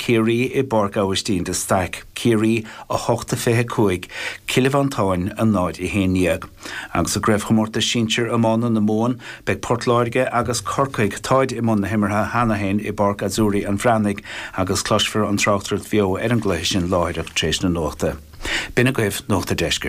Ciarraí i bPáirc Aibhistín de Staic, Ciarraí 8-25, Cill Mhantáin 0-11. Agus i gCraobhchomórtas Sinsir Iomána na Mumhan, beidh Port Láirge agus Corcaigh, táid i mbun na himeartha cheana féin i bPáirc Azzurri an Bhreathnaigh agus cloisfear an tráchtaireacht bheo ar an gcluiche sin láithreach tar éis na nuachta. B'in agaibh Nuacht a' Deiscirt.